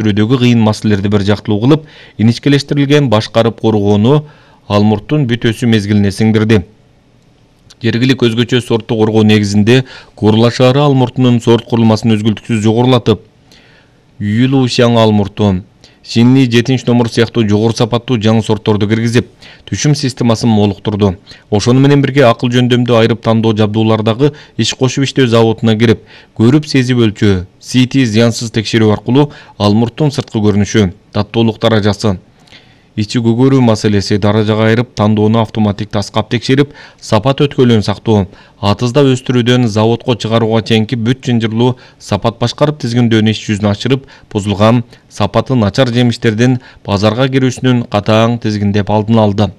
өстүрүүдөгү кыйын маселелерди бир жактылуу кылып, иничкелештирилген башкарып коргоону алмурттун бүтөсү мезгилине сиңдирди. Жергилик өзгөчө сортту коргоо негизинде Корла шаары алмуртунун сорт курулмасын өзгөлтүксүз жогорулатып, Юйлушяң алмурту, Шинни 7-номер сыяктуу жогору сапаттуу жаңы сортторду киргизип, түшүм системасын молуктурду. Ошону менен бирге акыл жөндөмдү айырып тандоо жабдуулардагы иш кошуп иштөө заводуна кирип, көрүп сезип өлчөө, CT зыянсыз текшерүү аркылуу алмурттун сырткы көрүнүшү, таттуулук даражасы, ичи көгөрүү маселеси даражага айырып тандоону автоматик таскап текшерип, сапат өткөлүн сактоо, атызда өстүрүүдөн заводко чыгарууга чейинки бүт жынжырлуу сапат башкарып тизгиндөөнү иш жүзүнө ашырып, бузулган, сапаты начар жемиштердин базарга кирүүсүнүн катаң тизгиндеп алдын алды.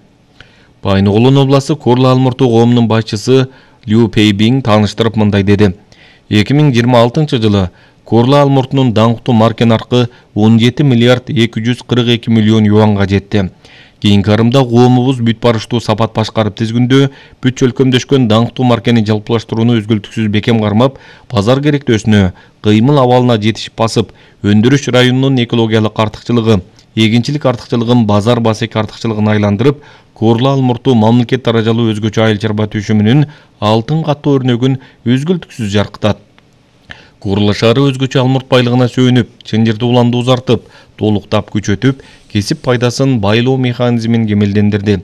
Байногулдун областы Корла алмурту коомунун башчысы Лю Пейбинг тааныштырып мындай деди. 2026-жылы Корла алмуртунун даңктуу марке наркы 17 миллиард 242 миллион юанга жетти. Кийинки арымда коомубуз бүт барыштуу сапат башкарып тизгиндөө, бүт чөлкөмдөшкөн даңктуу маркени жалпылаштырууну өзгөлтүксүз бекем кармап, базар керектөөсүнө, кыймыл абалына жетишип басып, өндүрүш районунун экологиялык артыкчылыгы, эгинчилик артыкчылыгын базар басек артыкчылыгына айландырып, Корла алмурту мамлекет даражалуу өзгөчө айыл чарба түшүмүнүн алтын каттуу өрнөгүн өзгөлтүксүз жаркытат. Корла шаары өзгөчө алмурт байлыгына сүйүнүп, чынжырды уланды узартып, толуктап күчөтүп, кесип пайдасын байлоо механизмин кемелдендирди.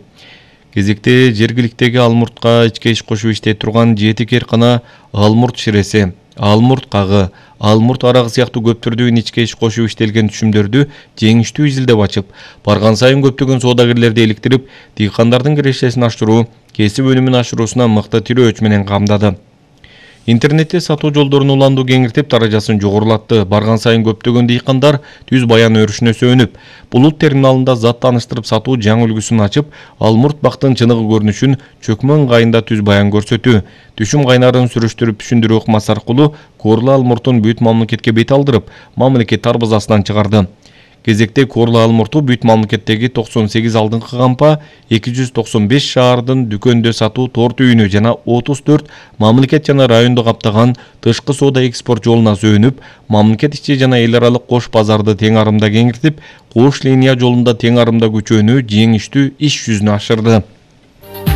Кезекте жергиликтеги алмуртка ичке иш кошуп иштей турган 7 кээркана алмурт ширеси, алмурт кагы, алмурт арагы сыяктуу көптөрдүн ичке иш кошуп иштелген түшүмдөрдү жеңиштүү изилдеп ачып, барган сайын көптөгөн соодагерлерди иликтирип, дыйкандардын кирешесин аштыруу, кесип өнүмүн ашыруусуна мыкты тирөөч менен камдады. Интернетте сатуу жолдорун уланду кеңиртип, даражасын жогорулатты. Барган сайын көптөгөн дыйкандар түз баян өрүшүнө сүйүнүп, булут терминалында зат тааныштырып сатуу жаңы үлгүсүн ачып, алмурт бактын чыныгы көрүнүшүн чөкмө ыңгайында түз баян көрсөтүү, түшүм кайнарын сүрүштүрүп түшүндүрүү ыкмасы аркылуу Корла алмуртун бүт мамлекетке бет алдырып, мамлекет тарбазасынан чыгарды. Кезекте Корла алмурту бүт мамлекеттеги 98 алдыңкы кампа, 295 шаардын дүкөндө сатуу торт үйүнү жана 34 мамлекет жана райондо каптаган тышкы соода экспорт жолуна сүйүнүп, мамлекет ичи жана эл аралык кош базарды тең арымда кеңиртип, кош линия жолунда тең арымда күчөөнү жеңиштүү иш жүзүнө ашырды.